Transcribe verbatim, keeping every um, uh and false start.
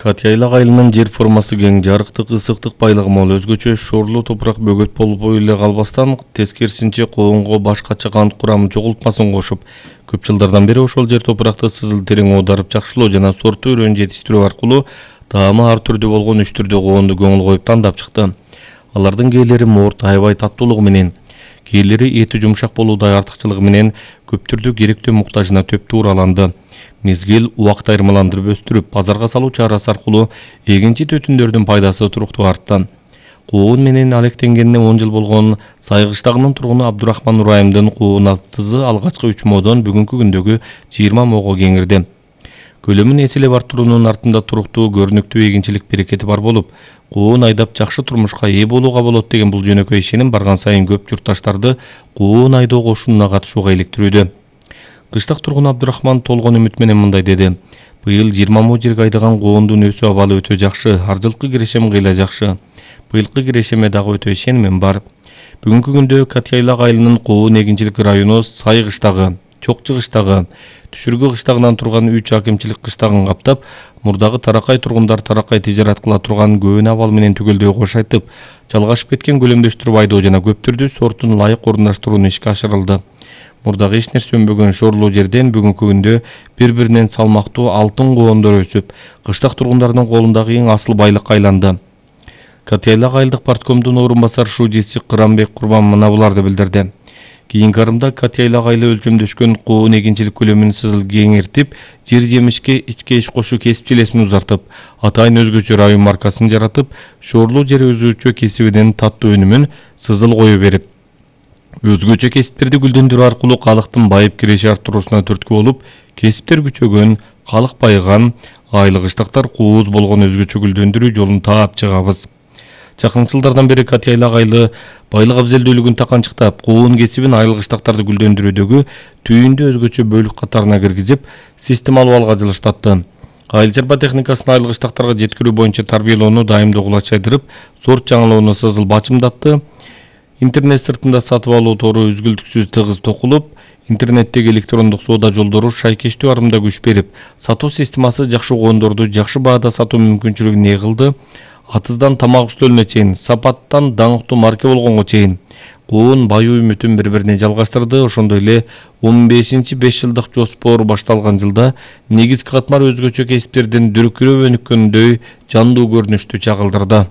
Катяйлак айылынын жер формасы кең, жарыктык, ысыктык байлыгы мол, өзгөчө шоорлуу топурак бөгөт болуп эле калбастан, тескерисинче коонго башкача кант курамы жоголтмасын кошуп, көп жылдардан бери ошол жер топуракты сызыл терең оодарып жакшылоо жана сорттуу өрөөнү жетиштирүү аркылуу таамы ар түрдүү болгон үч түрдүү коонду көңүл коюп тандап чыкты. Алардын кээлери мурт, аябай таттуулугу менен, кээлери эти жумшак болуудай артыкчылыгы менен көптүрдү керектөө муктажына төп туураланды. Мезгил убакыт айырмаландырып өстүрүп, базарга салуу чарасы аркылуу эгинчи төтүндөрдүн пайдасы туруктуу артты. Коон менен алектенгенине он жыл болгон Сайгыштагынын тургуну Абдурахман Нурайымдын коон атызы алгачкы үч модон бүгүнкү күндөгү жыйырма мого кеңирди. Көлөмүн эселеп артыруунун артында туруктуу көрүнүктүү эгинчилик берекети бар болуп, коон айдап жакшы турмушка ээ болууга болот деген бул жөнөкөй ишеним барган сайын көп журтташтарды коон айдоо кошунуна катышууга иликтирүүдө. Кыштак тургун Абдурахман толгон үмүт менен мындай деди: "Быйыл жыйырма мо жерге айдаган коондун өсүү абалы өтө жакшы, ар жылкы кирешем кыйла жакшы. Быйылкы кирешеме дагы өтө ишенимим бар. Бүгүнкү күндө Катяйлак айылынын коон эгинчилик району Сайгыштагы, Чокчу кыштагы, Түшүргү кыштагынан турган үч акимчилик кыштагын каптап, мурдагы Таракай тургундар Таракай тижарат кыла турган көөн абал менен түгөлдөй кош айтып, жалгашып кеткен көлөмдөштүрүп айдоо жана көп түрдүү сорттун ылайык орундаштырууну ишке ашырылды. Мурдагы эч нерсе өнбөгөн шоорлуу жерден бүгүнкү күндө бири-биринен салмактуу алтын коондор өсүп, кыштак тургундардын колундагы эң асыл байлыкка айланды. Катяйлак айылдык парткомдун орун басар шуудиси Кырамбек Курман мына буларды билдирди. Кийинки арымда Катяйлак айылы өлчөмдөшкөн коон эгинчилик көлөмүн сызыл кеңиртип, жер жемишке ичке иш кошуу кесипчилесин узартып, атайын өзгөчө район маркасын жаратып, шоорлуу жер өзгөчө кесибинин таттуу өнүмүн сызыл кое берип, өзгөчө кесиптерди гүлдөндүрүү аркылуу калктын байып киреше арттыруусуна түрткү болуп, кесиптер күчөгөн, калк байыган, айыл кыштактар кууз болгон өзгөчө гүлдөндүрүү жолун таап чыгабыз. Жакын жылдардан бери Катяйлак айылы байлык абзелдүүлүгүн таканчыктап, коон кесибин айыл кыштактарды гүлдөндүрүүдөгү түйүндү өзгөчө бөлүк катарына киргизип, системалуу алга жылыштатты. Айыл чарба техникасын айыл кыштактарга жеткирүү боюнча тарбиялоону дайымдуу кулачайдырып, сорт жаңылоону сызыл бачымдатты. Интернет сыртында сатып алуу тору үзгүлтүксүз тыгыз токулуп, интернеттеги электрондук соода жолдору шайкештүү арымда күч берип, сатуу системасы жакшы коондорду жакшы баада сатуу мүмкүнчүлүгүн ээ кылды. Атыздан тамак үстөлүнө чейин, сапаттан даңктуу марке болгонго чейин коон баюу үмүтүн бири-бирине жалгаштырды. Ошондой эле он бешинчи беш жылдык жоспор башталган жылда негизги катмар өзгөчө кесиптердин дүркүрөп өнүккөндөй жандуу көрүнүштү чагылдырды.